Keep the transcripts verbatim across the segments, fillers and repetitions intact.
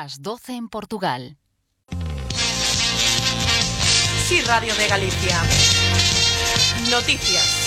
Las doce en Portugal. Sí, Radio de Galicia. Noticias.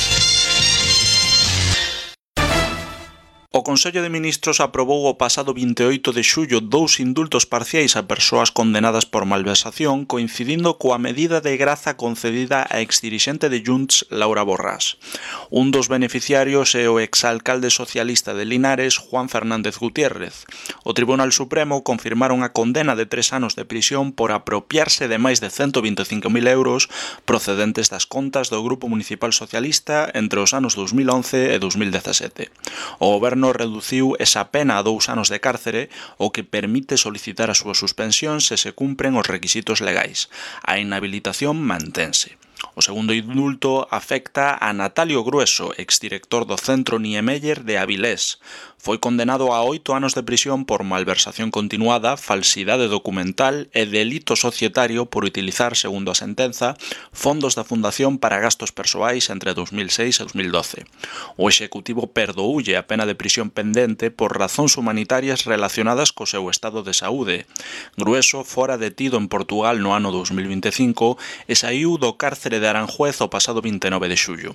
O Consello de Ministros aprobou o pasado vinte e oito de xullo dous indultos parciais a persoas condenadas por malversación, coincidindo coa medida de graza concedida á exdirixente de Junts, Laura Borrás. Un dos beneficiarios é o exalcalde socialista de Linares, Juan Fernández Gutiérrez. O Tribunal Supremo confirmaron a condena de tres anos de prisión por apropiarse de máis de cento vinte e cinco mil euros procedentes das contas do Grupo Municipal Socialista entre os anos dos mil once e dos mil dezasete. O Goberno reduciu esa pena a dous anos de cárcere, o que permite solicitar a súa suspensión se se cumpren os requisitos legais. A inhabilitación mantense. O segundo indulto afecta a Natalio Grueso, exdirector do Centro Niemeyer de Avilés. Foi condenado a oito anos de prisión por malversación continuada, falsidade documental e delito societario por utilizar, segundo a sentenza, fondos da Fundación para gastos persoais entre dos mil seis e dos mil doce. O executivo perdoulle a pena de prisión pendente por razóns humanitarias relacionadas co seu estado de saúde. Grueso fora detido en Portugal no ano dos mil vinte e cinco e saiu do cárcere de Aranjuez o pasado vinte e nove de xullo.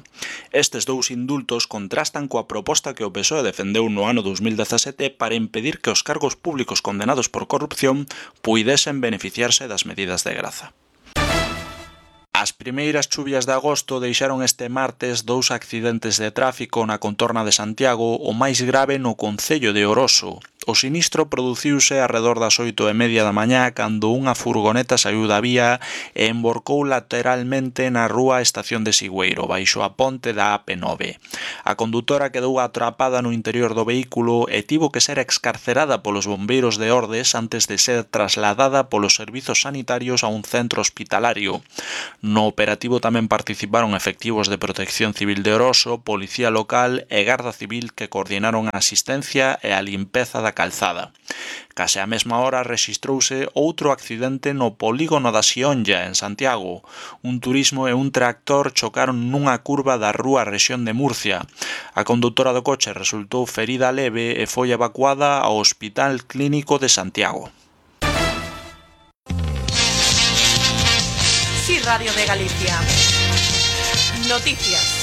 Estes dous indultos contrastan coa proposta que o P S O E defendeu no ano dos mil dezasete para impedir que os cargos públicos condenados por corrupción puidesen beneficiarse das medidas de graza. As primeiras chuvias de agosto deixaron este martes dous accidentes de tráfico na contorna de Santiago, o máis grave no concello de Oroso. O sinistro produciuse arredor das oito e media da mañá cando unha furgoneta saiu da vía e emborcou lateralmente na rúa Estación de Sigüeiro, baixo a ponte da A P nove. A condutora quedou atrapada no interior do vehículo e tivo que ser excarcerada polos bombeiros de Ordes antes de ser trasladada polos servizos sanitarios a un centro hospitalario. No operativo tamén participaron efectivos de Protección Civil de Oroso, Policía Local e Garda Civil que coordinaron a asistencia e a limpeza da calzada. Case á mesma hora rexistrouse outro accidente no polígono da Xionlla, en Santiago. Un turismo e un tractor chocaron nunha curva da rúa Rexión de Murcia. A condutora do coche resultou ferida leve e foi evacuada ao Hospital Clínico de Santiago. Sí, Radio de Galicia. Noticias.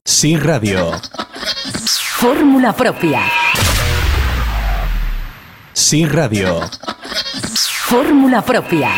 Sí, Radio. Fórmula propia. Sí, Radio. Fórmula propia.